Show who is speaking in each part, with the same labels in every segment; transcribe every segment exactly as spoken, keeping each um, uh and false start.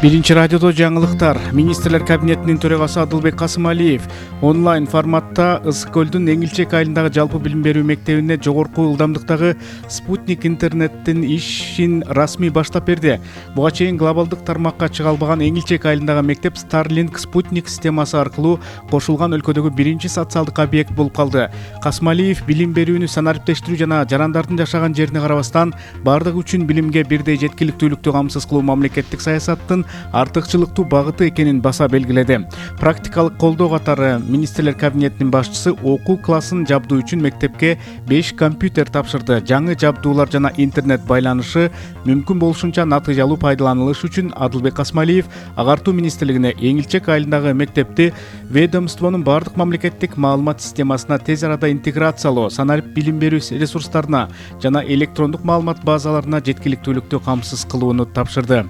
Speaker 1: Биринчи радиодо жаңылыктар. Министрлер кабинетинин төрагасы Адылбек Касымалиев онлайн форматта Ысык көлдүн Эңилчек айылындагы жалпы билим берүү мектебине жогорку ылдамдыктагы спутник интернеттин ишин расмий баштап берди. Буга чейин глобалдык тармакка чыга албаган Эңилчек айылындагы мектеп Starlink спутник системасы аркылуу кошулган өлкөдөгү биринчи социалдык объект болуп калды. Касымалиев билим берүүнү санариптештирүү жана жарандардын жашаган жерине карабастан бардыгы үчүн билимге бирдей жеткиликтүүлүктү камсыз кылуу мамлекеттик саясаттын артыкчылыктуу багыты экенин баса белгиледи. Практикалык колдоо катары министрлер кабинетинин башчысы окуу классын жабдуу үчүн мектепке беш компьютер тапшырды. Жаңы жабдуулар жана интернет байланышы мүмкүн болушунча натыйжалуу пайдаланылышы үчүн Адылбек Касымалиев агартуу министрлигине Эңилчек айылындагы мектепти ведомствонун бардык мамлекеттик маалымат системасына тез арада интеграциялоо, санарип билим берүү ресурстарына жана электрондук маалымат базаларына жеткиликтүүлүктү камсыз кылууну тапшырды.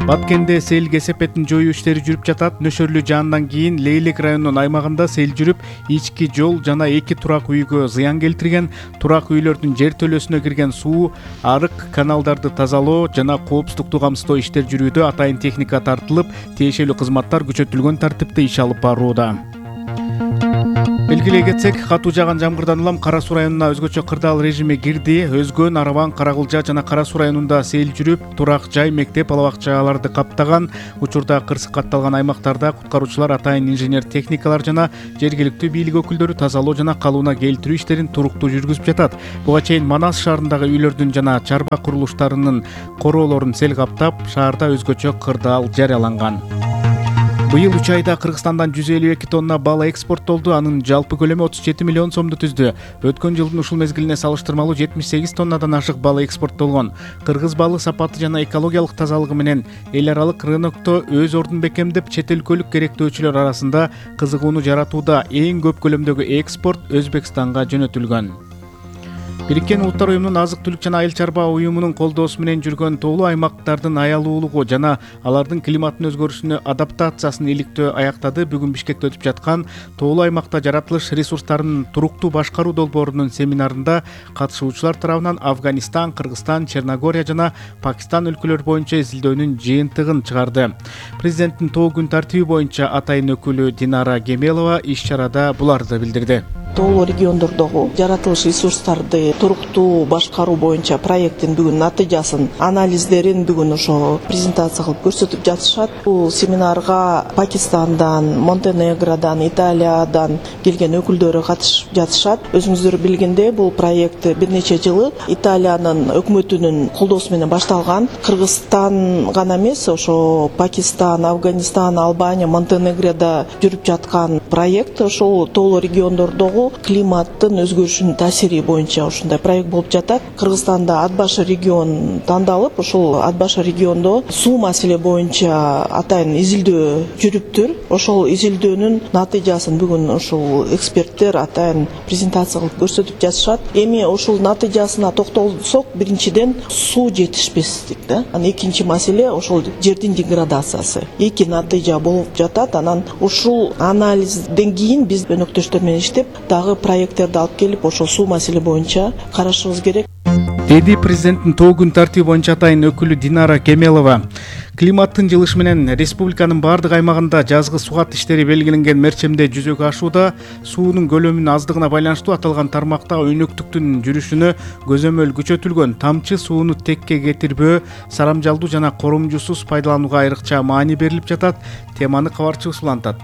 Speaker 1: Баткенде сел кесепетин жоюу иштери жүрүп жатат. Нөшөрлүү жаандан кийин Лейлек районунун аймагында сел жүрүп, ички жол жана эки турак үйгө зыян келтирген. Турак үйлөрдүн жер төлөсүнө кирген суу, арык каналдарды тазалоо жана коопсуздукту камсыздоо иштери жүрүүдө. Атайын техника тартылып, тиешелүү кызматтар күчөтүлгөн тартипте иш алып барууда. Белгилей кетсек, катуу жааган жамгырдан улам Кара Суу районуна өзгөчө кырдаал режими кирди. Өзгөн, Араван, Каракылжа жана Кара Суу районунда сел жүрүп, турак жай, мектеп, ала бакчаларды каптаган. Учурда кырсык катталган аймактарда куткаруучулар атайын инженер техникалар жана жергиликтүү бийлик өкүлдөрү тазалоо жана калууна келтирүү иштерин туруктуу жүргүзүп жатат. Буга чейин Манас шаарындагы үйлөрдүн жана чарба курулуштарынын короолорун сел каптап, шаарда өзгөчө кырдаал жарыяланган. Быйыл үч айда Кыргызстандан жүз элүү эки тонна бал экспорттолду. Анын жалпы көлөмү отуз жети миллион сомду түздү. Өткөн жылдын ушул мезгилине салыштырмалуу жетимиш сегиз тоннадан ашык бал экспорттолгон. Кыргыз балы сапаты жана экологиялык тазалыгы менен эл аралык рынокто өз ордун бекемдеп, чет өлкөлүк керектөөчүлөр арасында кызыгууну жаратууда. Эң көп көлөмдөгү экспорт Өзбекстанга жөнөтүлгөн. Бириккен Улуттар уюмунун азык-түлүк жана айыл чарба уюмунун колдоосу менен жүргөн тоолуу аймактардын аялуулугу жана алардын климаттын өзгөрүшүнө адаптациясын иликтөө аяктады. Бүгүн Бишкекте өтүп жаткан тоолуу аймакта жаратылыш ресурстарын туруктуу башкаруу долбоорунун семинарында катышуучулар тарабынан Афганистан, Кыргызстан, Черногория жана Пакистан өлкөлөрү боюнча изилдөөнүн жыйынтыгын чыгарды. Президенттин тоо күн тартиби боюнча атайын өкүлү Динара Кемелова иш чарада буларды билдирди.
Speaker 2: Тоолуу региондордогу жаратылыш ресурстарды туруктуу башкаруу боюнча проекттин бүгүн натыйжасын, анализдерин бүгүн ошо презентация кылып көрсөтүп жатышат. Бул семинарга Пакистандан, Монтенегродан, Италиядан келген өкүлдөрү катышып жатышат. Өзүңүздөр билгендей, бул проект бир нече жылы Италиянын өкмөтүнүн колдоосу менен башталган. Кыргызстан гана эмес, ошо Пакистан, Афганистан, Албания, Монтенегрода жүрүп жаткан проект. Ошол тоолуу региондордогу климаттын өзгөрүшүнүн таасири боюнча ушундай проект болуп жатат. Кыргызстанда Ат башы регион тандалып, ошол Ат башы региондо суу маселе боюнча атайын изилдөө жүрүптүр. Ошол изилдөөнүн натыйжасын бүгүн ушул эксперттер атайын презентация кылып көрсөтүп жатышат. Эми ушул натыйжасына токтолсок, биринчиден суу жетишпестик да. Анан экинчи маселе ошол жердин деградациясы. Эки натыйжа болуп жатат. Анан ушул анализден кийин биз өнөктөштөр менен иштеп дагы проекттерди алып келип, ошол суу маселе боюнча карашыбыз керек,
Speaker 1: деди президенттин тоо күн тартиби боюнча атайын өкүлү Динара Кемелова. Климаттын жылышы менен республиканын бардык аймагында жазгы сугат иштери белгиленген мерчемде жүзөгө ашууда. Суунун көлөмүнүн аздыгына байланыштуу аталган тармакта өнөктүктүн жүрүшүнө көзөмөл күчөтүлгөн. Тамчы сууну текке кетирбөө, сарамжалдуу жана коромжусуз пайдаланууга айрыкча маани берилип жатат. Теманы кабарчыбыз улантат.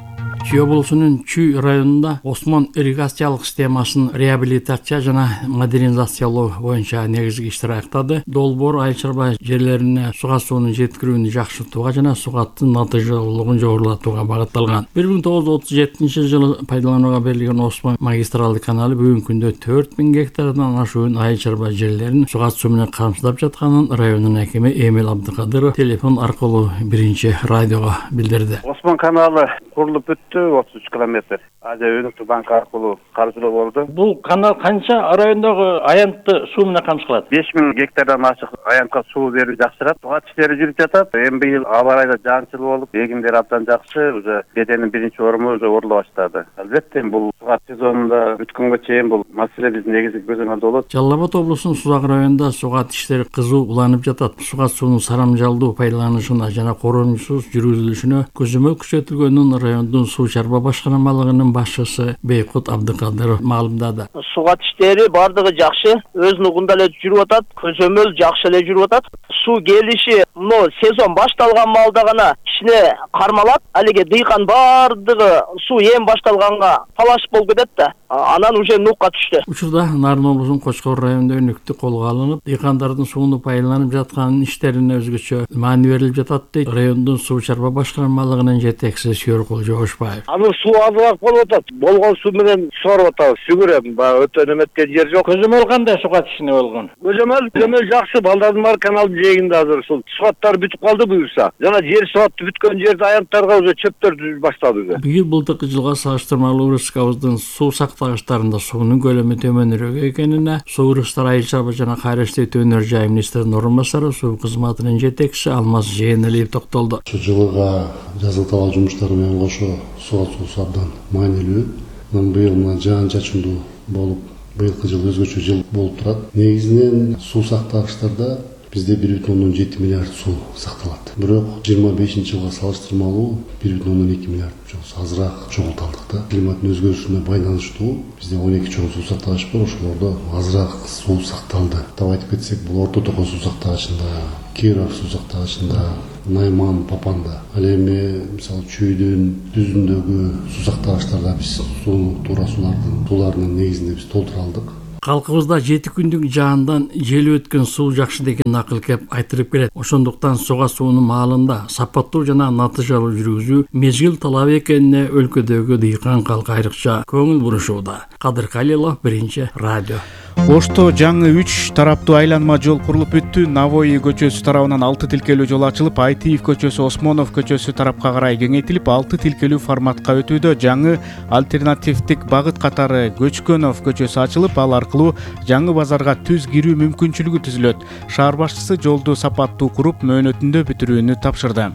Speaker 3: Чүй облусунун Чүй районунда Осмон ирригациялык системасын реабилитация жана модернизациялоо боюнча негизги иштер аяктады. Долбоор айыл чарба жерлерине суга суунун жеткирүүнү жакшыртууга жана сугаттын натыйжалуулугун жогорулатууга багытталган. бир миң тогуз жүз отуз жетинчи жылы пайдаланууга берилген Осмон магистралдык каналы бүгүнкү күндө төрт миң гектардан ашуун айыл чарба жерлерин сугат суу менен камсыздап жатканын райондун акими Эмил Абдыкадыров телефон аркылуу биринчи радиого билдирди.
Speaker 4: Осмон каналы курулуп бүттү. бүттү, отуз үч километр. Азия өнүктүү банк аркылуу каржылоо болду.
Speaker 3: Бул канал канча райондогу аянтты суу менен камсыз кылат?
Speaker 4: беш миң гектардан ашык аянтка суу берүү жакшырат. Сугат иштери жүрүп жатат. Эми быйыл аба ырайда жаанчыл болуп, эгиндер абдан жакшы, уже беденин биринчи оруму уже оруло баштады. Албетте бул сугат сезонунда бүткөнгө чейин бул маселе биздин негизги көзөмөлдө болот.
Speaker 3: Жалал Абад облусунун Сузак районунда сугат иштери кызуу уланып жатат. Сугат суунун сарамжалдуу пайдаланышына жана коронусуз жүргүзүлүшүнө көзөмөл күчөтүлгөнүн райондун суу чарба башкармалыгынын башчысы Бейкут Абдыкадыров маалымдады.
Speaker 5: Сугат иштери бардыгы жакшы, өз нугунда эле жүрүп атат, көзөмөл жакшы эле жүрүп атат. Суу келиши мына сезон башталган маалда гана кичине кармалат. Алиге дыйкан бардыгы суу эми башталганга талаш болуп кетет да. Анан уже нукка түштү.
Speaker 3: Учурда Нарын облусунун Кочкор районунда өнүктү колго алынып, дыйкандардын сууну пайдаланып жаткан иштерине өзгөчө маани берилип жатат дейт райондун суу чарба башкармалыгынын жетекчиси Сүйөркул Жогушбаев.
Speaker 6: Анын суу азыраак болуп атат. Болгон суу менен сорып атабыз. Шүгүр эми баягы өтө неметкен жер жок.
Speaker 3: Көзөмөл кандай сугат ишине болгон?
Speaker 6: Көзөмөл, көзөмөл жакшы. Балдардын баары каналдын жээгинде азыр ушул сугаттар бүтүп калды буюрса. Жана жер сугаты бүткөн жерде аянттарга уже чөптөр түзүп баштады уже.
Speaker 3: Быйыл былтыркы жылга салыштырмалуу ырыскабыздын суу сактагычтарында суунун көлөмү төмөнүрөөк экенине Суу ырыстар айыл чарба жана кайра иштетүү өнөр жай министринин орун басары суу кызматынын жетекчиси Алмаз Жээнелиев токтолду.
Speaker 7: Ушу жылыга жазгы талаа жумуштары менен кошо сугат суусу абдан маанилүү. Быйыл мына жаан чачындуу болуп, быйылкы жыл өзгөчө жыл болуп турат. Негизинен суу сактагычтарда бизде бир бүтүн ондон жети миллиард суу сакталат. Бирок жыйырма бешинчи жылга салыштырмалуу бир бүтүн ондон эки миллиард азыраак чогулталдык да. Климаттын өзгөрүшүнө байланыштуу бизде он эки чоң суу сактагыч бар, ошолордо азыраак суу сакталды. Атап айтып кетсек, бул Орто Токой суу сактагычында, Киров суу сактагычында, Найман, Папанда. Ал эми мисалы Чүйдүн, Дүзүндөгү суу сактагычтарда биз сууну туура суулардын сууларынын негизинде биз толтура алдык.
Speaker 3: Калкыбызда жети күндүк жаандан желип өткөн суу жакшы деген акыл кеп айтырып келет. Ошондуктан суга суунун маалында сапаттуу жана натыйжалуу жүргүзүү мезгил талап экенине өлкөдөгү дыйкан калк айрыкча көңүл бурушууда. Кадыр Калилов, Биринчи радио.
Speaker 1: Ошто жаңы үч тараптуу айланма жол курулуп бүттү. Навои көчөсү тарабынан алты тилкелүү жол ачылып, Айтиев көчөсү, Осмонов көчөсү тарапка карай кеңейтилип, алты тилкелүү форматка өтүүдө. Жаңы альтернативдик багыт катары Көчкөнов көчөсү ачылып, ал аркылуу жаңы базарга түз кирүү мүмкүнчүлүгү түзүлөт. Шаар башчысы жолду сапаттуу куруп, мөөнөтүндө бүтүрүүнү тапшырды.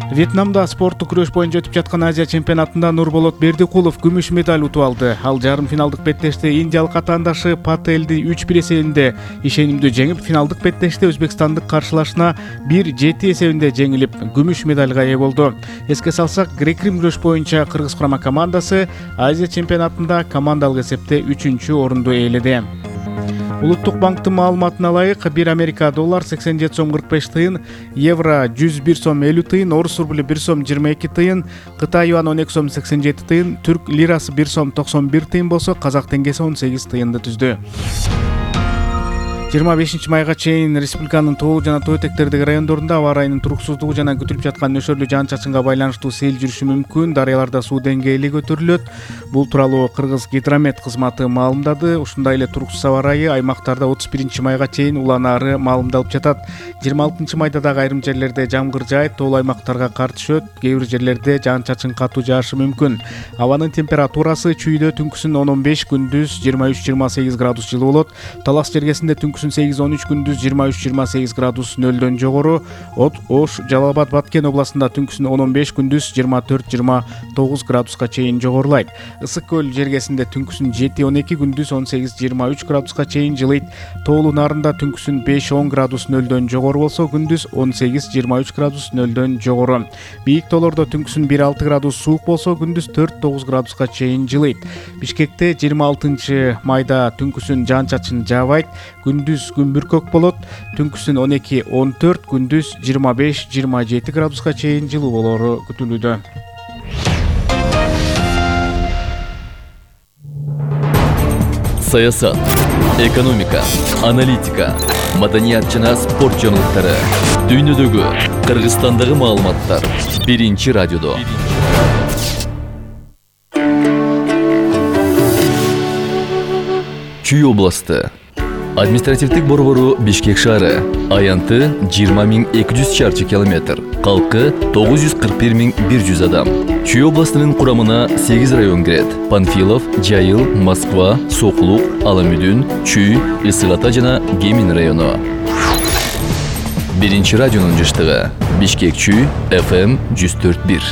Speaker 1: Вьетнамда спорттук күрөш боюнча өтүп жаткан Азия чемпионатында Нурболот Бердикулов күмүш медаль утуп алды. Ал жарым финалдык беттеште индиялык атаандашы Пателди үч бир эсебинде ишенимдүү жеңип, финалдык беттеште өзбекстандык каршылашына бир жети эсебинде жеңилип, күмүш медальга ээ болду. Эске салсак, грек-рим күрөш боюнча кыргыз курама командасы Азия чемпионатында командалык эсепте үчүнчү орунду ээледи. Улуттук банктын маалыматына ылайык, бир Америка доллар сексен жети сом кырк беш тыйын, евро жүз бир сом элүү тыйын, орус рублю бир сом жыйырма эки тыйын, Кытай юаны он эки сом сексен жети тыйын, түрк лирасы бир сом токсон бир тыйын болсо, казак теңгеси он сегиз тыйынды түздү. жыйырма бешинчи майга чейин республиканын тоо жана тоо этектердеги райондорунда аба ырайынын туруксуздугу жана күтүлүп жаткан нөшөрлүү жаан-чачынга байланыштуу сел жүрүшү мүмкүн. Дарыяларда суу деңгээли көтөрүлөт. Бул тууралуу Кыргыз гидромет кызматы маалымдады. Ушундай эле туруксуз аба ырайы аймактарда отуз биринчи майга чейин уланаары маалымдалып жатат. жыйырма алтынчы майда дагы айрым жерлерде жамгыр жаайт, тоолуу аймактарга кар түшөт, кээ бир жерлерде жаан-чачын катуу жаашы мүмкүн. Абанын температурасы Чүйдө түнкүсүн он он беш, күндүз жыйырма үч жыйырма сегиз градус жылуу болот. Талас жергесинде түнкүсүн сегиз он үч, күндүз жыйырма үч жыйырма сегиз градус нөлдөн жогору. От Ош, Жалал Абад, Баткен областында түнкүсүн он он беш, күндүз жыйырма төрт жыйырма тогуз градуска чейин жогорулайт. Ысык көл жергесинде түнкүсүн жети он эки, күндүз он сегиз жыйырма үч градуска чейин жылыйт. Тоолуу Нарында түнкүсүн беш он градус нөлдөн жогору болсо, күндүз он сегиз жыйырма үч градус нөлдөн жогору. Бийик тоолордо түнкүсүн бир алты градус суук болсо, күндүз төрт тогуз градуска чейин жылыйт. Бишкекте жыйырма алтынчы майда түнкүсүн жаан-чачын жаабайт, күндүз күн бүркөк болот. Түнкүсүн он эки он төрт, күндүз жыйырма беш жыйырма жети градуска чейин жылуу болору күтүлүүдө.
Speaker 8: Саясат, экономика, аналитика, маданият жана спорт жаңылыктары, дүйнөдөгү, Кыргызстандагы маалыматтар Биринчи радиодо. Чүй областы Административдик борбору Бишкек шаары. Аянты жыйырма миң эки жүз чарчы километр. Калкы тогуз жүз кырк бир миң бир жүз адам. Чүй областынын курамына сегиз район кирет. Панфилов, Жайыл, Москва, Соклук, Аламүдүн, Чүй, Ысык Ата жана Кемин району. Биринчи радионун жыштыгы. Бишкек Чүй, эф эм жүз төрт бир.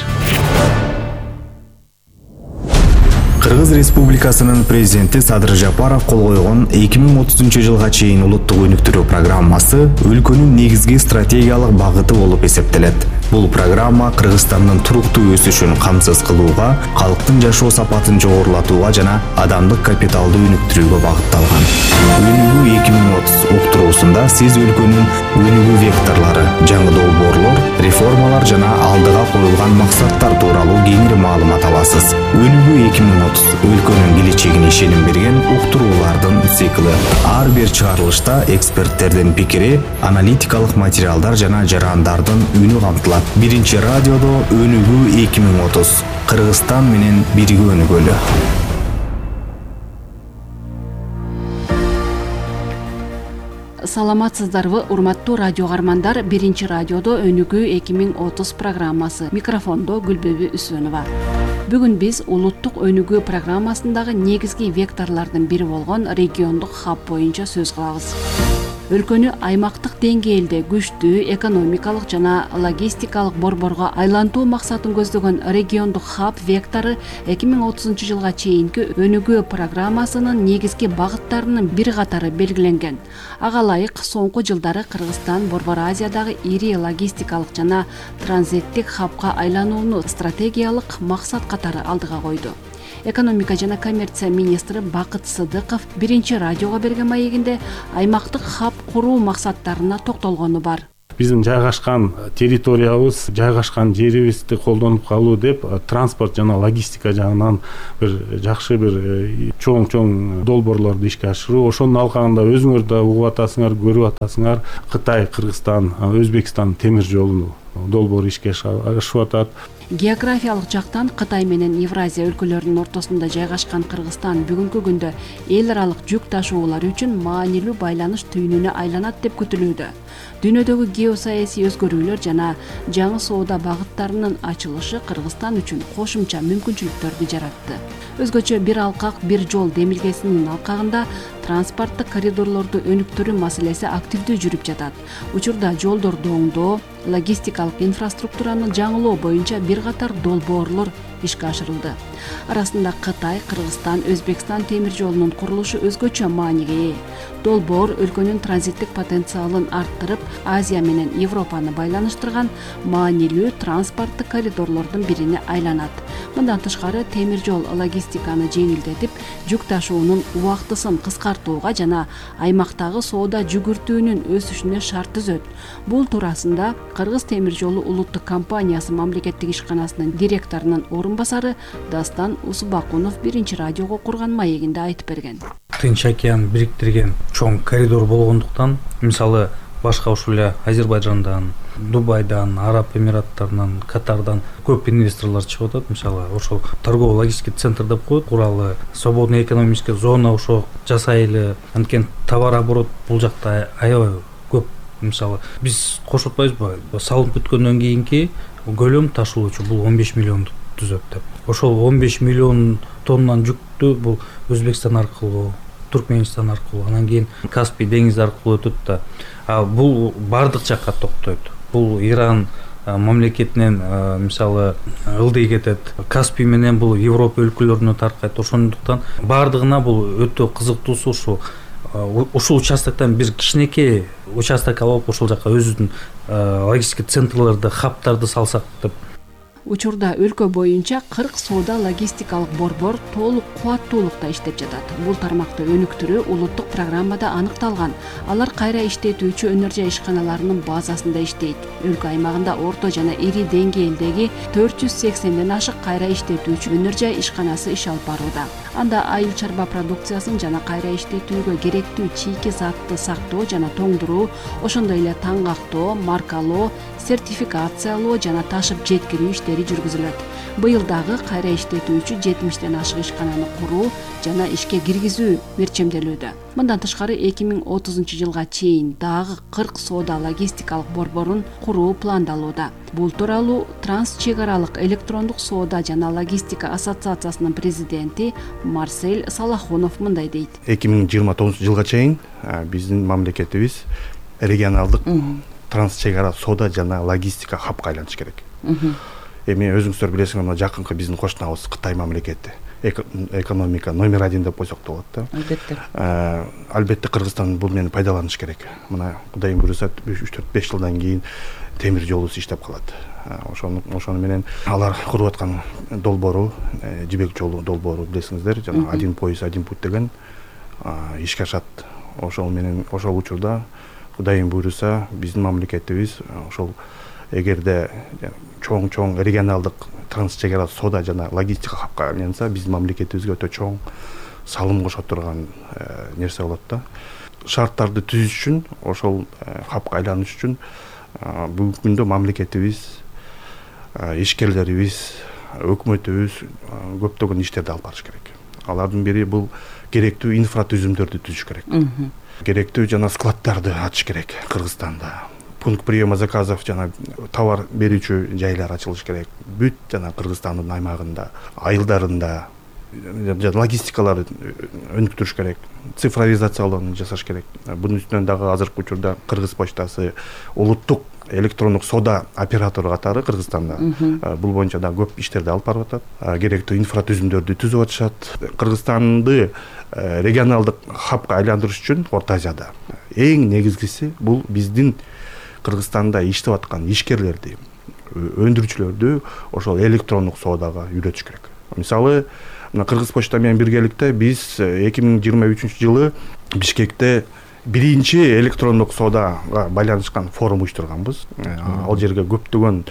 Speaker 9: Кыргыз Республикасынын президенти Садыр Жапаров кол койгон эки миң отузунчу жылга чейин улуттук өнүктүрүү программасы өлкөнүн негизги стратегиялык багыты болуп эсептелет. Бул программа Кыргызстандын туруктуу өсүшүн камсыз кылууга, калктын жашоо сапатын жогорулатууга жана адамдык капиталды өнүктүрүүгө багытталган. Өнүгүү эки миң отуз уктуруусунда сиз өлкөнүн өнүгүү векторлору, жаңы долбоорлор, реформалар жана алдыга коюлган максаттар тууралуу кеңири маалымат аласыз. Өнүгүү эки миң отуз өлкөнүн келечегине ишеним берген уктуруулардын циклы. Ар бир чыгарылышта эксперттердин пикири, аналитикалык материалдар жана жарандардын үнү камтылат. Биринчи радиодо Өнүгүү эки миң отуз. Кыргызстан менен бирге өнүгөлү.
Speaker 10: Саламатсыздарбы, урматтуу радио каармандар. Биринчи радиодо Өнүгүү эки миң отуз программасы. Микрофондо Гүлбөбү Үсөнова. Бүгүн биз улуттук өнүгүү программасындагы негизги векторлордун бири болгон региондук хаб боюнча сөз кылабыз. Өлкөнү аймактык деңгээлде күчтүү экономикалык жана логистикалык борборго айлантуу максатын көздөгөн региондук хаб вектору эки миң отузунчу жылга чейинки өнүгүү программасынын негизги багыттарынын бир катары белгиленген. Ага ылайык соңку жылдары Кыргызстан Борбор Азиядагы ири логистикалык жана транзиттик хабка айланууну стратегиялык максат катары алдыга койду. Экономика жана коммерция министри Бакыт Сыдыков биринчи радиого берген маегинде аймактык хаб куруу максаттарына токтолгону бар.
Speaker 11: Биздин жайгашкан территориябыз, жайгашкан жерибизди колдонуп калуу деп транспорт жана логистика жагынан бир жакшы бир чоң-чоң долбоорлорду ишке ашыруу. Ошонун алкагында өзүңөр да угуп атасыңар, көрүп атасыңар. Кытай, Кыргызстан, Өзбекстан темир жолунун долбоору ишке ашып атат.
Speaker 10: Географиялык жактан Кытай менен Евразия өлкөлөрүнүн ортосунда жайгашкан Кыргызстан бүгүнкү күндө эл аралык жүк ташуулар үчүн маанилүү байланыш түйүнүнө айланат деп күтүлүүдө. Дүйнөдөгү геосаясий өзгөрүүлөр жана жаңы соода багыттарынын ачылышы Кыргызстан үчүн кошумча мүмкүнчүлүктөрдү жаратты. Өзгөчө бир алкак, бир жол демилгесинин алкагында транспорттук коридорлорду өнүктүрүү маселеси активдүү жүрүп жатат. Учурда жолдорду оңдоо, логистикалык инфраструктураны жаңылоо боюнча бир катар долбоорлор ишке ашырылды. Арасында Кытай, Кыргызстан, Өзбекстан темир жолунун курулушу өзгөчө мааниге ээ. Долбоор өлкөнүн транзиттик потенциалын арттырып, Азия менен Европаны байланыштырган маанилүү транспорттук коридорлордун бирине айланат. Мындан тышкары темир жол логистиканы жеңилдетип, жүк ташуунун убактысын кыскартууга жана аймактагы соода жүгүртүүнүн өсүшүнө шарт түзөт. Бул туурасында Кыргыз темир жолу улуттук компаниясы мамлекеттик ишканасынын директорунун орун басары Дастан Усубакунов биринчи радиого курган маегинде айтып берген.
Speaker 12: Тынч океан бириктирген чоң коридор болгондуктан, мисалы башка ушул эле Азербайжандан, Дубайдан, Араб Эмираттарынан, Катардан көп инвесторлор чыгып атат. Мисалы ошол торгово-логистикалык центр деп коет, куралы, свободный экономический зона ошо жасайлы. Анткени товар оборот бул жакта аябай көп. Мисалы биз кошуп атпайбызбы? Салынып бүткөндөн кийинки көлөм ташуучу бул он беш миллионду түзөт деп. Ошол он беш миллион тоннан жүктү бул Өзбекстан аркылуу, Туркменистан аркылуу, анан кийин Каспий деңизи аркылуу өтөт да. А бул бардык жакка токтойт. Бул Иран мамлекетинен мисалы ылдый кетет. Каспий менен бул Европа өлкөлөрүнө таркайт. Ошондуктан бардыгына бул өтө кызыктуусу ушул. Ушул участоктон бир кичинекей участок алып ошол жака өзүбүздүн логистика центрлерди, хабтарды салсак деп.
Speaker 10: Учурда өлкө боюнча кырк соода логистикалык борбор толук кубаттуулукта иштеп жатат. Бул тармакты өнүктүрүү улуттук программада аныкталган. Алар кайра иштетүүчү өнөр жай ишканаларынын базасында иштейт. Өлкө аймагында орто жана ири деңгээлдеги төрт жүз сексенден ашык кайра иштетүүчү өнөр жай ишканасы иш алып барууда. Анда айыл чарба продукциясын жана кайра иштетүүгө керектүү чийки затты сактоо жана тоңдуруу, ошондой эле таңгактоо, маркалоо, сертификациялоо жана ташып жеткирүү иштери иштери жүргүзүлөт. Быйыл дагы кайра иштетүүчү жетимиштен ашык ишкананы куруу жана ишке киргизүү мерчемделүүдө. Мындан тышкары эки миң отузунчу жылга чейин дагы кырк соода логистикалык борборун куруу пландалууда. Бул тууралуу Транс чек аралык электрондук соода жана логистика ассоциациясынын президенти Марсель Салахунов мындай дейт.
Speaker 13: эки миң жыйырма тогузунчу жылга чейин биздин мамлекетибиз регионалдык транс чек ара соода жана логистика хабка айланыш керек. Эми өзүңүздөр билесиңер, мына жакынкы биздин кошунабыз Кытай мамлекети экономика номер один деп койсок да болот да.
Speaker 14: Албетте.
Speaker 13: Албетте Кыргызстан бул менен пайдаланыш керек. Мына Кудайым буюрса үч төрт беш жылдан кийин темир жолубуз иштеп калат. Ошону ошону менен алар куруп аткан долбоору, жибек жолу долбоору билесиңиздер, жана один пояс один путь деген ишке ашат. Ошол менен ошол учурда Кудайым буюрса биздин мамлекетибиз ошол эгерде чоң-чоң регионалдык транс чек ара соода жана логистика хабка айланса, биздин мамлекетибизге өтө чоң салым кошо турган нерсе болот да. Шарттарды түзүш үчүн, ошол хабка айланыш үчүн бүгүнкү күндө мамлекетибиз, ишкерлерибиз, өкмөтүбүз көптөгөн иштерди алып барыш керек. Алардын бири бул керектүү инфратүзүмдөрдү түзүш керек. Керектүү жана складдарды ачыш керек Кыргызстанда. Пункт приема заказов жана товар берүүчү жайлар ачылыш керек. Бүт жана Кыргызстандын аймагында, айылдарында логистикаларды өнүктүрүш керек. Цифровизациялоону жасаш керек. Бунун үстүнөн дагы азыркы учурда Кыргыз почтасы улуттук электрондук соода оператору катары Кыргызстанда бул боюнча да көп иштерди алып барып атат. Керектүү инфратүзүмдөрдү түзүп атышат. Кыргызстанды регионалдык хабка айландырыш үчүн Орто Азияда эң негизгиси бул биздин Кыргызстанда иштеп аткан ишкерлерди, өндүрүүчүлөрдү ошол электрондук соодага үйрөтүш керек. Мисалы, мына Кыргыз почта менен биргеликте биз эки миң жыйырма үчүнчү жылы Бишкекте биринчи электрондук соодага байланышкан форум уюштурганбыз. Ал жерге көптөгөн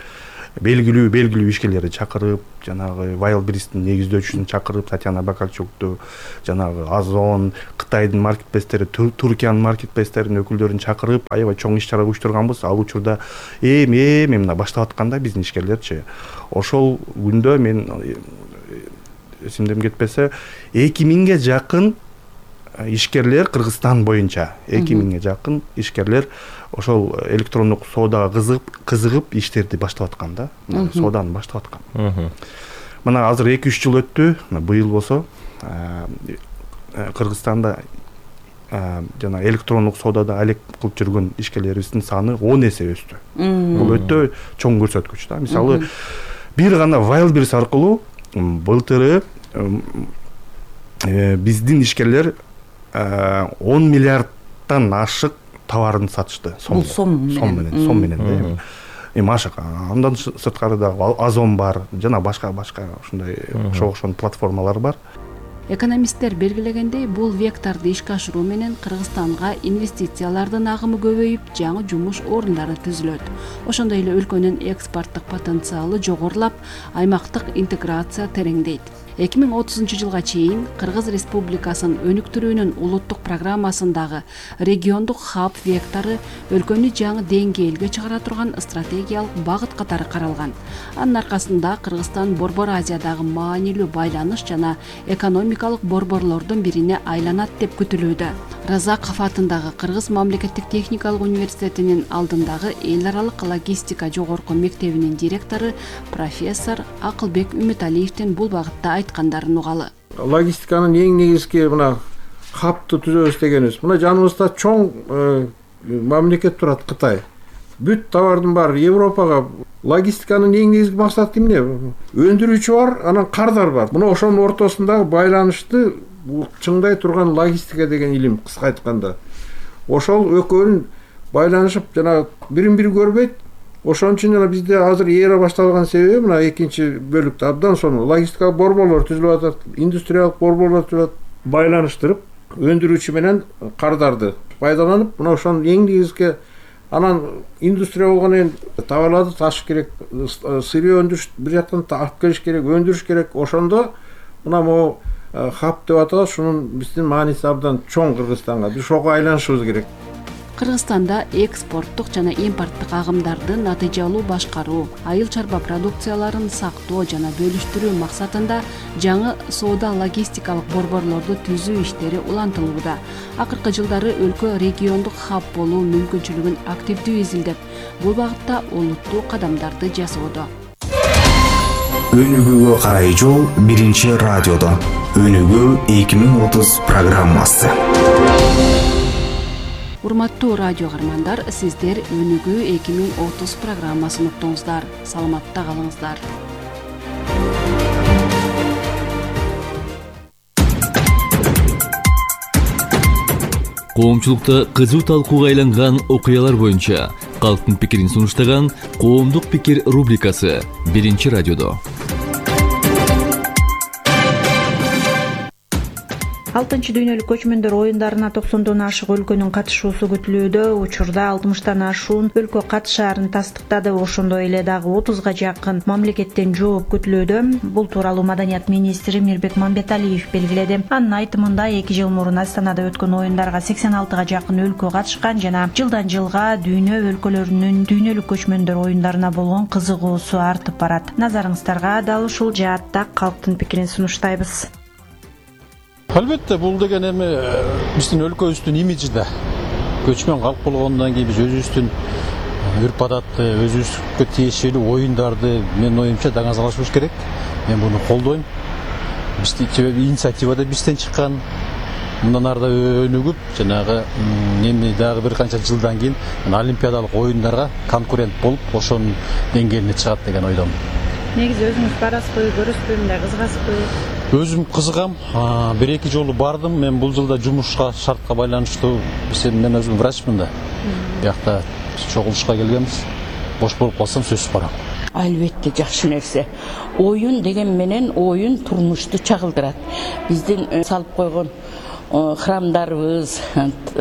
Speaker 13: белгилүү белгилүү ишкерлерди чакырып, жанагы Wildberries'тин негиздөөчүсүн чакырып, Татьяна Бакарчукту, жанагы Озон, Кытайдын маркетплейстери, Туркиянын маркетплейстеринин өкүлдөрүн чакырып, аябай чоң иш-чара уюштурганбыз. Ал учурда эми-эми мына баштап атканда биздин ишкерлерчи, ошол күндө мен эсимден кетпесе эки миңге жакын ишкерлер Кыргызстан боюнча эки миңге жакын ишкерлер ошол электрондук соодага кызыгып, кызыгып иштерди баштап аткан да. Сооданы баштап аткан. Мына азыр эки үч жыл өттү. Быйыл болсо Кыргызстанда жана электрондук соодада алек кылып жүргөн ишкерлерибиздин саны он эсе өстү. Бул өтө чоң көрсөткүч да. Мисалы, бир гана Wildberries аркылуу былтыры биздин ишкерлер он миллиардтан ашык товарын сатышты.
Speaker 14: Бул сом
Speaker 13: менен, сом менен да. Эми ашык. Андан сырткары да Озон бар, жана башка-башка ушундай ошол платформалар бар.
Speaker 10: Экономисттер белгилегендей, бул векторду ишке ашыруу менен Кыргызстанга инвестициялардын агымы көбөйүп, жаңы жумуш орундары түзүлөт. Ошондой эле өлкөнүн экспорттук потенциалы жогорулап, аймактык интеграция тереңдейт. эки миң отузунчу жылга чейин Кыргыз Республикасынын өнүктүрүүнүн улуттук программасындагы региондук хаб вектору өлкөнү жаңы деңгээлге чыгара турган стратегиялык багыт катары каралган. Анын аркасында Кыргызстан Борбор Азиядагы маанилүү байланыш жана экономикалык борборлордун бирине айланат деп күтүлүүдө. Разаков атындагы Кыргыз мамлекеттик техникалык университетинин алдындагы эл аралык логистика жогорку мектебинин директору профессор Акылбек Үмүталиевдин бул багытта айткандарын угалы.
Speaker 15: Логистиканын эң негизги мына хабты түзөбүз дегенибиз. Мына жаныбызда чоң мамлекет турат, Кытай. Бүт товардын баары Европага. Логистиканын эң негизги максаты эмне? Өндүрүүчү бар, анан кардар бар. Мына ошонун ортосундагы байланышты чыңдай турган логистика деген илим, кыска айтканда. Ошол экөөнүн байланышып жана бирин-бири көрбөйт. Ошон үчүн жана бизде азыр эра башталган себеби мына экинчи бөлүктө абдан сонун логистикалык борборлор түзүлүп атат, индустриялык борборлор түзүлүп атат, байланыштырып, өндүрүүчү менен кардарды пайдаланып, мына ошонун эң негизги анан индустрия болгондон кийин товарларды ташыш керек, сырье өндүрүш бир жактан алып келиш керек, өндүрүш керек. Ошондо мына могу хаб деп аталат, шунун биздин мааниси абдан чоң Кыргызстанга. Биз ошого айланышыбыз керек.
Speaker 10: Кыргызстанда экспорттук жана импорттук агымдарды натыйжалуу башкаруу, айыл чарба продукцияларын сактоо жана бөлүштүрүү максатында жаңы соода логистикалык борборлорду түзүү иштери улантылууда. Акыркы жылдары өлкө региондук хаб болуу мүмкүнчүлүгүн активдүү изилдеп, бул багытта олуттуу кадамдарды жасоодо.
Speaker 9: Өнүгүүгө карай жол биринчи радиодо. Өнүгүү эки миң отуз программасы.
Speaker 10: Урматтуу радио каармандар, сиздер Өнүгүү эки миң отуз программасын уктуңуздар. Саламатта калыңыздар.
Speaker 8: Коомчулукта кызуу талкууга айланган окуялар боюнча калктын пикирин сунуштаган Коомдук пикир рубрикасы биринчи радиодо.
Speaker 14: алтынчы дүйнөлүк көчмөндөр оюндарына токсондон ашык өлкөнүн катышуусу күтүлүүдө. Учурда алтымыштан ашуун өлкө катышаарын тастыктады. Ошондой эле дагы отузга жакын мамлекеттен жооп күтүлүүдө. Бул тууралуу Маданият министри Мирбек Мамбеталиев белгиледи. Анын айтымында эки жыл мурун Астанада өткөн оюндарга сексен алтыга жакын өлкө катышкан жана жылдан жылга дүйнө өлкөлөрүнүн дүйнөлүк көчмөндөр оюндарына болгон кызыгуусу артып барат. Назарыңыздарга дал ушул жаатта калктын пикирин сунуштайбыз.
Speaker 16: Албетте, бул деген эми биздин өлкөбүздүн имиджи да. Көчмөн калк болгондон кийин биз өзүбүздүн үрп адатты, өзүбүзгө тиешелүү оюндарды менин оюмча даңазалашыбыз керек. Мен буну колдойм. Бизди себеби инициатива да бизден чыккан. Мындан ары да өнүгүп, жанагы эми дагы бир канча жылдан кийин олимпиадалык оюндарга конкурент болуп, ошонун деңгээлине чыгат деген ойдомун.
Speaker 14: Негизи өзүңүз барасызбы, көрөсүзбү, мындай кызыгасызбы?
Speaker 16: Өзүм кызыгам. Бир эки жолу бардым. Мен бул жылда жумушка шартка байланыштуу, мен өзүм врачмын да. Биякта чогулушка келгенбиз. Бош болуп калсам сөзсүз барам.
Speaker 17: Албетте жакшы нерсе. Оюн деген менен оюн турмушту чагылдырат. Биздин салып койгон храмдарыбыз,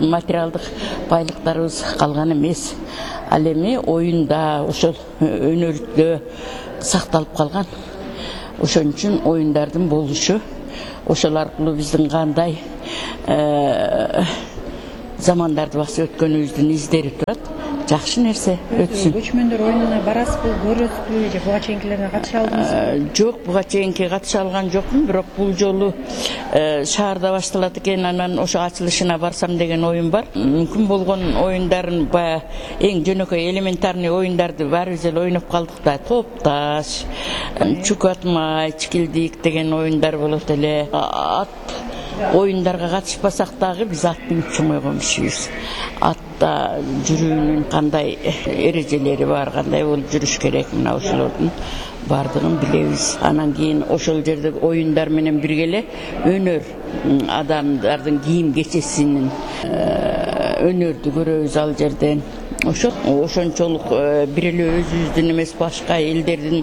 Speaker 17: материалдык байлыктарыбыз калган эмес. Ал эми оюнда, ошол өнөрдө сакталып калган. Ошон үчүн оюндардын болушу, ошол аркылуу биздин кандай замандарды басып өткөнүбүздүн издери турат. Жакшы нерсе өтсүн.
Speaker 14: Көчмөндөр оюнуна барасызбы, көрөсүзбү же буга чейинкилерге катыша алдыңызбы?
Speaker 17: Жок, буга чейинки катыша алган жокмун, бирок бул жолу шаарда башталат экен, анан ошо ачылышына барсам деген оюм бар. Мүмкүн болгон оюндарын, баягы эң жөнөкөй элементарный оюндарды баарыбыз эле ойноп калдык да. Топ-таш, чук атмай, чикилдик деген оюндар болот эле. Ат оюндарга катышпасак дагы биз аттын үчүн койгон кишибиз. Атта жүрүүнүн кандай эрежелери бар, кандай болуп жүрүш керек, мына ошолордун бардыгын билебиз. Анан кийин ошол жерде оюндар менен бирге эле өнөр, адамдардын кийим кечесинин өнөрдү көрөбүз ал жерден. Ошо ошончолук бир эле өзүбүздүн эмес, башка элдердин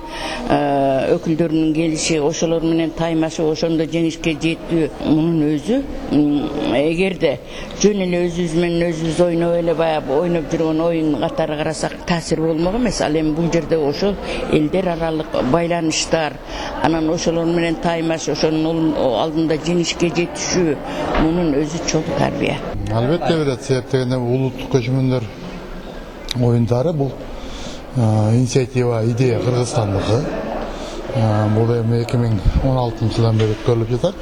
Speaker 17: өкүлдөрүнүн келиши, ошолор менен таймашып, ошондо жеңишке жетүү, мунун өзү эгерде жөн эле өзүбүз менен өзүбүз ойноп эле баягы ойноп жүргөн оюн катары карасак таасир болмок эмес. Ал эми бул жерде ошол элдер аралык байланыштар, анан ошолор менен таймаш, ошонун алдында жеңишке жетишүү, мунун өзү чоң тарбия.
Speaker 18: Албетте берет, себеп дегенде улуттук көчмөндөр оюндары бул инициатива, идея Кыргызстандыкы. Бул эми эки миң он алтынчы жылдан бери өткөрүлүп жатат.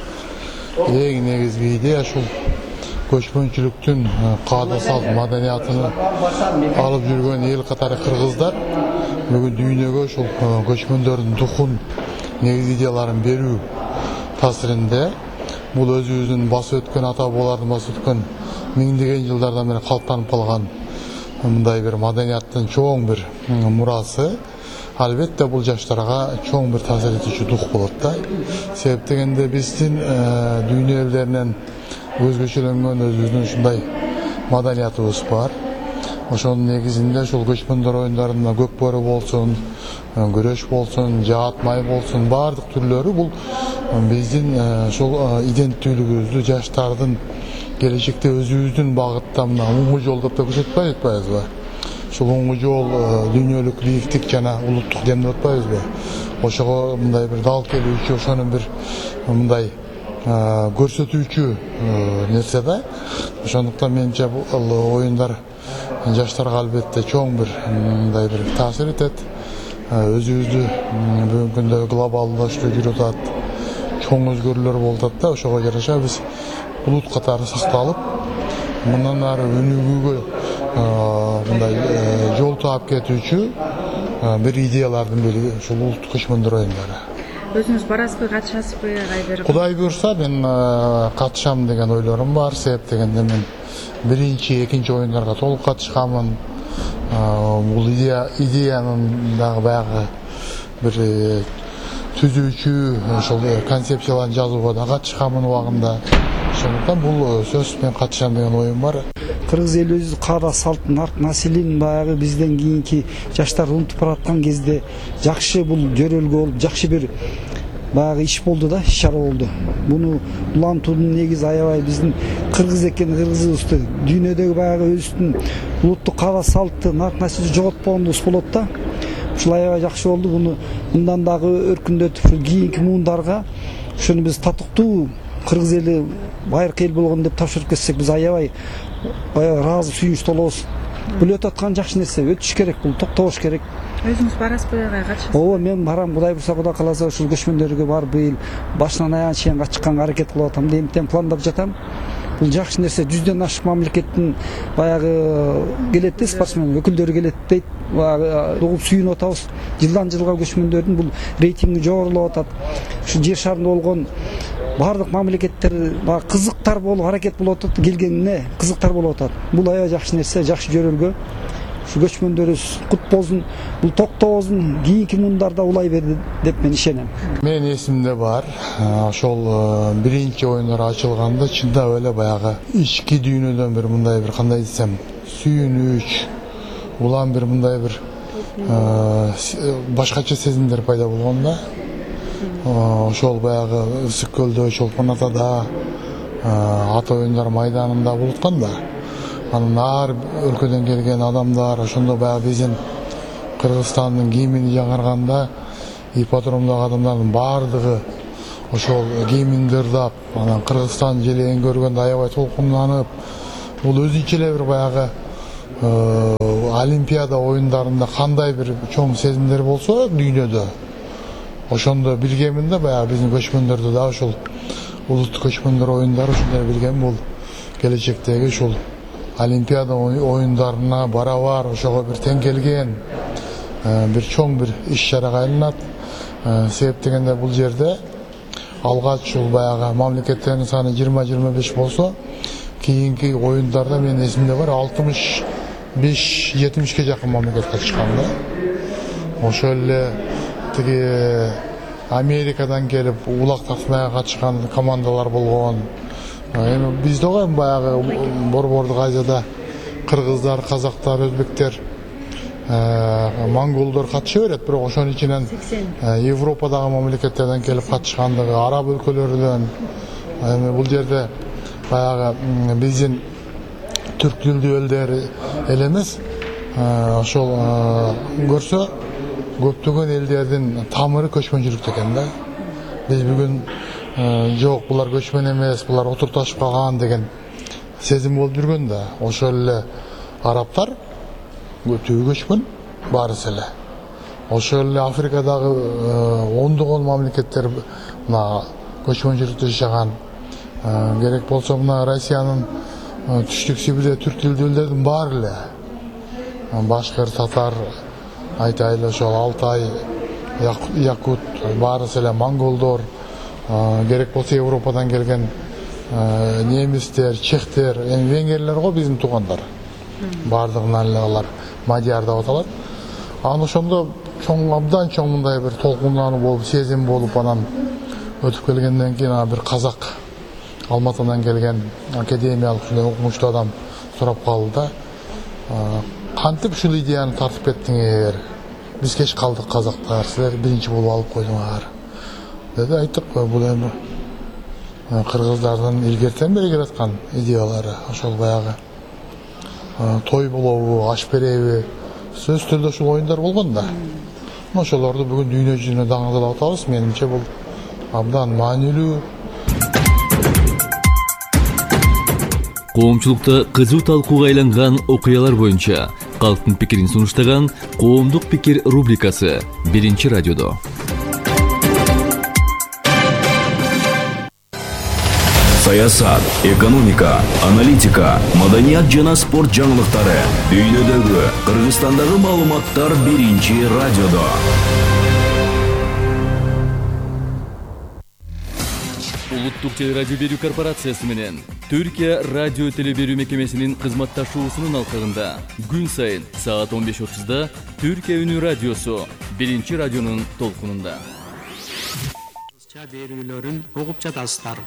Speaker 18: Эң негизги идея ушул көчмөнчүлүктүн каада салт маданиятын алып жүргөн эл катары кыргыздар бүгүн дүйнөгө ушул көчмөндөрдүн духун, негизи идеяларын берүү таасиринде бул өзүбүздүн басып өткөн ата бабалардын басып өткөн миңдеген жылдардан бери калыптанып калган мындай бир маданияттын чоң бир мурасы. Албетте бул жаштарга чоң бир таасир этүүчү дух болот да. Себеп дегенде биздин дүйнө элдеринен өзгөчөлөнгөн өзүбүздүн ушундай маданиятыбыз бар. Ошонун негизинде ушул көчмөндөр оюндарында көкбөрү болсун, күрөш болсун, жаат май болсун, баардык түрлөрү бул биздин ушул иденттүүлүгүбүздү, жаштардын келечекте өзүбүздүн багытта мына оңгу жол деп көрсөтпөй атпайбызбы? Ушул оңгу жол дүйнөлүк бийликтик жана улуттук дем деп атпайбызбы? Ошого мындай бир дал келүүчү, ошонун бир мындай көрсөтүүчү нерсе да. Ошондуктан менимче бул оюндар жаштарга албетте чоң бир мындай бир таасир этет. Өзүбүздү бүгүнкү күндө глобалдашуу жүрүп атат, чоң өзгөрүүлөр болуп атат да, ошого жараша биз улут катары сакталып, мындан ары өнүгүүгө мындай жол таап кетүүчү бир идеялардын бири ушул улуттук көчмөндөр оюндары.
Speaker 14: Өзүңүз барасызбы, катышасызбы кайдыр?
Speaker 18: Кудай буйрса мен катышам деген ойлорум бар. Себеп дегенде мен биринчи, экинчи оюндарга толук катышканмын. Бул идея идеянын дагы баягы бир түзүүчү ошол концепцияларын жазууга да катышканмын убагында. Ошондуктан бул сөз мен катышам деген оюм бар.
Speaker 19: Кыргыз элибиздин кара салт населин баягы бизден кийинки жаштар унутуп бараткан кезде жакшы бул жөрөлгө болуп, жакшы бир баягы иш болду да, иш чара болду. Буну улантуунун негизи аябай биздин кыргыз экен, кыргызыбызды дүйнөдөгү баягы өзүбүздүн улуттук кара салтты, нарк населди жоготпогонубуз болот да. Ушул аябай жакшы болду. Буну мындан дагы өркүндөтүп, кийинки муундарга ошону биз татыктуу кыргыз эли байыркы эл болгон деп тапшырып кетсек, биз аябай ыраазы, сүйүнүч толобуз. Бул өтүп аткан жакшы нерсе, өтүш керек, бул токтобош керек.
Speaker 14: Өзүңүз барасызбы, катышасызбы?
Speaker 19: Ооба, мен барам. Кудай буйрса, Кудай кааласа, ушул көчмөндөргө барып быйыл башынан аягына чейин катышканга аракет кылып атам. Эмтен пландап жатам. Бул жакшы нерсе. Жүздөн ашык мамлекеттин баягы келет да, спортсмен өкүлдөрү келет дейт. Баягы угуп сүйүнүп атабыз. Жылдан жылга көчмөндөрдүн бул рейтинги жогорулап атат. Ушу жер шарында болгон бардык мамлекеттер баягы кызыктар болуп аракет болуп атат, келгенине кызыктар болуп атат. Бул аябай жакшы нерсе, жакшы жөрөлгө. Ушу көчмөндөрүбүз кут болсун, бул токтобоздун кийинки муундарда улай берди деп мен ишенем.
Speaker 18: Менин эсимде бар. Ошол биринчи оюндар ачылганда чындап эле баягы ички дүйнөдөн бир мындай бир кандай десем, сүйүнүч, улам бир мындай бир башкача сезимдер пайда болгон да. Ошол баягы Ысык көлдө, Чолпон Атада, ата оюндар майданында болуп аткан да. Анын ар өлкөдөн келген адамдар ошондо баягы биздин Кыргызстандын кийимин жаңарганда ипподромдогу адамдардын баардыгы ошол кийимин ырдап, анан Кыргызстан желегин көргөндө аябай толкунданып, бул өзүнчө эле бир баягы Олимпиада оюндарында кандай бир чоң сезимдер болсо дүйнөдө, ошондо билгемин да, баягы биздин көчмөндөрдө да ушул улуттук көчмөндөр оюндары ушундай билгем, бул келечектеги ушул Олимпиада оюндарына барабар ошого бир тең келген бир чоң бир иш чарага айланат. Себеп дегенде бул жерде алгач ушул баягы мамлекеттердин саны жыйырма жыйырма беш болсо, кийинки оюндарда менин эсимде бар алтымыш беш жетимишке жакын мамлекет катышкан да. Ошол эле тиги Америкадан келип улак тартмайга катышкан командалар болгон. Эми бизде го баягы Борбордук Азияда кыргыздар, казактар, өзбектер, монголдор катыша берет, бирок ошонун ичинен Европадагы мамлекеттерден келип катышкандыгы, араб өлкөлөрүнөн. Эми бул жерде баягы биздин түрк тилдүү элдер эле эмес, ошол көрсө көптөгөн элдердин тамыры көчмөнчүлүктө экен да. Биз бүгүн жок, булар көчмөн эмес, булар отурташып калган деген сезим болуп жүргөн да. Ошол эле арабтар көтүү көчмөн баарысы эле. Ошол эле Африкадагы ондогон мамлекеттер мына көчмөнчүлүктө жашаган. Керек болсо мына Россиянын түштүк Сибирде түрк тилдүү элдердин баары эле, башкыр, татар, айтайлы ошол Алтай, якут, баарысы эле монголдор, керек болсо Европадан келген немистер, чехтер, эми венгерлер го биздин туугандар. Баардыгынан эле алар мадияр деп аталат. Анан ошондо чоң, абдан чоң мындай бир толкундануу болуп, сезим болуп, анан өтүп келгенден кийин ана бир казак Алматыдан келген академиялык окумуштуу адам сурап калды да. Кантип ушул идеяны тартып кеттиңер? Биз кеч калдык казактар, силер биринчи болуп алып койдуңар. Деди, айттык, бул эми кыргыздардын илгертен бери келаткан идеялары. Ошол баягы той болобу, аш береби, сөзсүз түрдө ушул оюндар болгон да. Ошолорду бүгүн дүйнө жүзүнө даңгылдап атабыз. Менимче бул абдан маанилүү.
Speaker 8: коомчулукта кызуу талкууга айланган окуялар боюнча калктын пикирин сунуштаган коомдук пикир рубрикасы биринчи радиодо.
Speaker 20: Саясат, экономика, аналитика, маданият жана спорт жаңылыктары, дүйнөдөгү, Кыргызстандагы маалыматтар биринчи радиодо.
Speaker 8: Улуттук телерадио берүү корпорациясы менен Түркия радио телеберүү мекемесинин кызматташуусунун алкагында күн сайын саат он беш отузда Түркия үнү радиосу биринчи радионун толкунунда.
Speaker 21: Кыргызча берүүлөрүн угуп жатасыздар.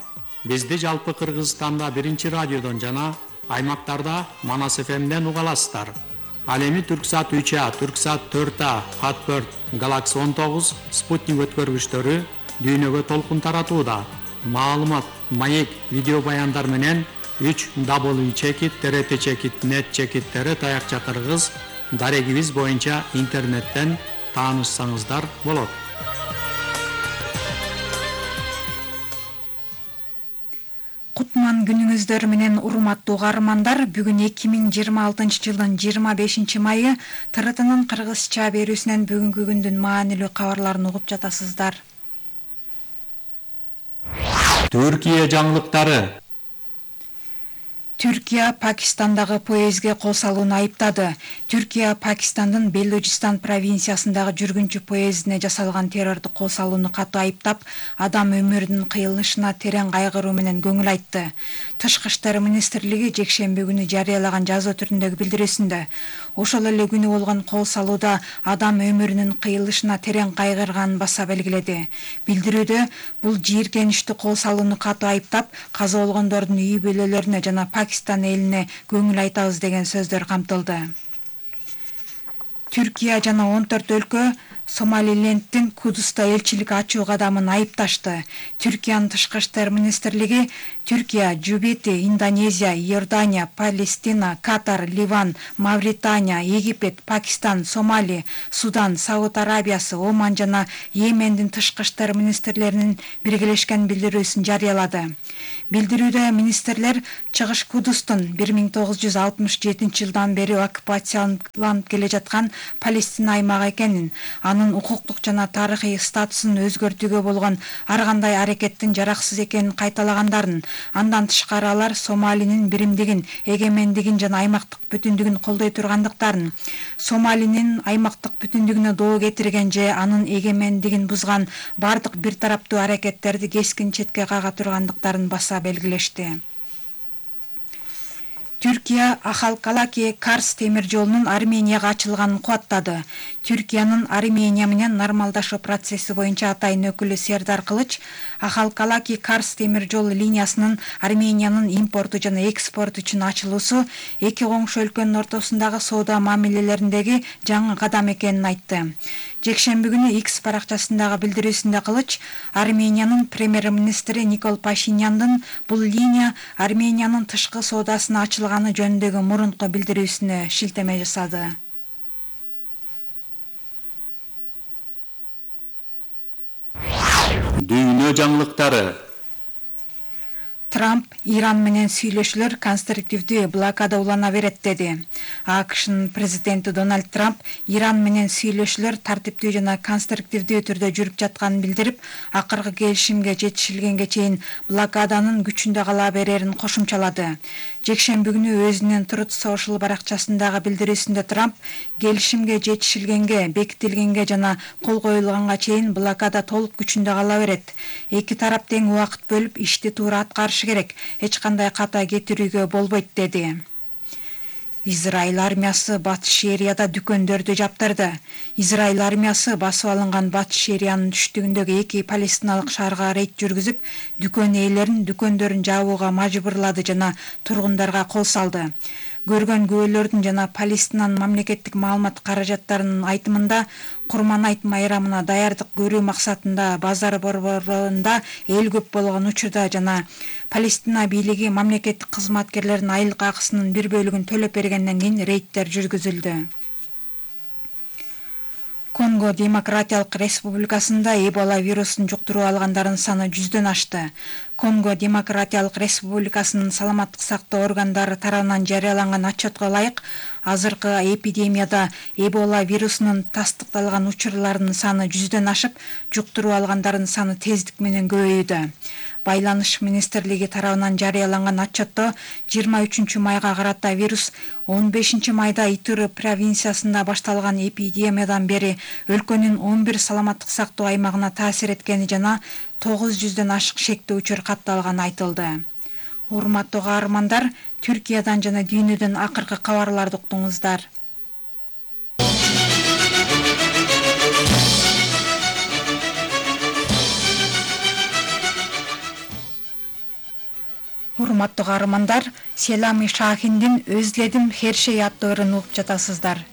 Speaker 21: Бизди жалпы Кыргызстанда биринчи радиодон жана аймактарда Манас эф эмден уга аласыздар. Ал эми Түрксат үч А, Түрксат төрт А, Хатберт, Галакси он тогуз, Спутник өткөргүчтөрү дүйнөгө толкун таратууда. Маалымат, маек, видео баяндар менен үч дабл ю чекит, т р т чекит, нет чекиттери таякча кыргыз дарегибиз боюнча интернеттен таанышсаңыздар болот.
Speaker 22: Кутман күнүңүздөр менен урматтуу каармандар, бүгүн эки миң жыйырма алтынчы жылдын жыйырма бешинчи майы Т Р Т'нын кыргызча берүүсүнөн бүгүнкү күндүн маанилүү кабарларын угуп жатасыздар.
Speaker 21: Түркия жаңылыктары.
Speaker 22: Түркия Пакистандагы поездге кол салууну айыптады. Түркия Пакистандын Белуджистан провинциясындагы жүргүнчү поездине жасалган террордук кол салууну катуу айыптап, адам өмүрүнүн кыйылышына терең кайгыруу менен көңүл айтты. Тышкы иштер министрлиги жекшемби күнү жарыялаган жазуу түрүндөгү билдирүүсүндө ошол эле күнү болгон кол салууда адам өмүрүнүн кыйылышына терең кайгырганын баса белгиледи. Билдирүүдө бул жийиркеничтүү кол салууну катуу айыптап, каза болгондордун үй бүлөлөрүнө жана Пакистан элине көңүл айтабыз деген сөздөр камтылды. Түркия жана он төрт өлкө Сомалилендтин Кудуста элчилик ачуу кадамын айыпташты. Түркиянын тышкы иштер министрлиги Түркия, Жубити, Индонезия, Иордания, Палестина, Катар, Ливан, Мавритания, Египет, Пакистан, Сомали, Судан, Сауд Арабиясы, Оман жана Йемендин тышкы иштер министрлеринин биргелешкен билдирүүсүн жарыялады. Билдирүүдө министрлер Чыгыш Кудустун бир миң тогуз жүз алтымыш жетинчи жылдан бери оккупацияланып келе жаткан Палестина аймагы экенин, анын укуктук жана тарыхый статусун өзгөртүүгө болгон ар кандай аракеттин жараксыз экенин кайталагандарын, андан тышкары алар Сомалинин биримдигин, эгемендигин жана аймактык бүтүндүгүн колдой тургандыктарын, Сомалинин аймактык бүтүндүгүнө доо кетирген же анын эгемендигин бузган бардык бир тараптуу аракеттерди кескин четке кага тургандыктарын баса белгилешти. Түркия Ахалкалаки Карс темир жолунун Арменияга ачылганын кубаттады. Түркиянын Армения менен нормалдашуу процесси боюнча атайын өкүлү Сердар Кылыч Ахалкалаки Карс темир жол линиясынын Армениянын импорту жана экспорту үчүн ачылуусу эки коңшу өлкөнүн ортосундагы соода мамилелериндеги жаңы кадам экенин айтты. Жекшемби күнү X баракчасындагы билдирүүсүндө Кылыч Армениянын премьер-министри Никол Пашиняндын бул линия Армениянын тышкы соодасына ачылганы жөнүндөгү мурунку билдирүүсүнө шилтеме жасады.
Speaker 21: Дүйнө жаңылыктары.
Speaker 22: Трамп Иран менен сүйлөшүүлөр конструктивдүү блокада улана берет деди. АКШнын президенти Дональд Трамп Иран менен сүйлөшүүлөр тартиптүү жана конструктивдүү түрдө жүрүп жатканын билдирип, акыркы келишимге жетишилгенге чейин блокаданын күчүндө кала берерин кошумчалады. Жекшемби күнү өзүнүн Truth Social баракчасындагы билдирүүсүндө Трамп келишимге жетишилгенге, бекитилгенге жана кол коюлганга чейин блокада толук күчүндө кала берет. Эки тарап тең убакыт бөлүп ишти туура аткарышы керек, эч кандай ката кетирүүгө болбойт деди. Израиль армиясы Батыш Шерияда дүкөндөрдү жаптырды. Израиль армиясы басып алынган Батыш Шериянын түштүгүндөгү эки палестиналык шаарга рейд жүргүзүп, дүкөн ээлерин дүкөндөрүн жабууга мажбурлады жана тургундарга кол салды. Көргөн күбөлөрдүн жана Палестинанын мамлекеттик маалымат каражаттарынын айтымында Курман айт майрамына даярдык көрүү максатында базар борборунда эл көп болгон учурда жана Палестина бийлиги мамлекеттик кызматкерлердин айлык акысынын бир бөлүгүн төлөп бергенден кийин рейдтер жүргүзүлдү. Конго Демократиялык Республикасында Эбола вирусун жуктуруу алгандардын саны жүздөн ашты. Конго Демократиялык Республикасынын саламаттык сактоо органдары тарабынан жарыяланган отчетко ылайык, азыркы эпидемияда Эбола вирусунун тастыкталган учурларынын саны жүздөн ашып, жуктуруу алгандардын саны тездик менен көбөйүүдө. Байланыш министрлиги тарабынан жарыяланган отчетто жыйырма үчүнчү майга карата вирус он бешинчи майда Итури провинциясында башталган эпидемиядан бери өлкөнүн он бир саламаттык сактоо аймагына таасир эткени жана тогуз жүздөн ашык шектүү учур катталганы айтылды. Урматтуу каармандар, Түркиядан жана дүйнөдөн акыркы кабарларды уктуңуздар. Урматтуу каармандар, Селами Шахиндин «Өзледим Хершей» аттуу ырын угуп жатасыздар.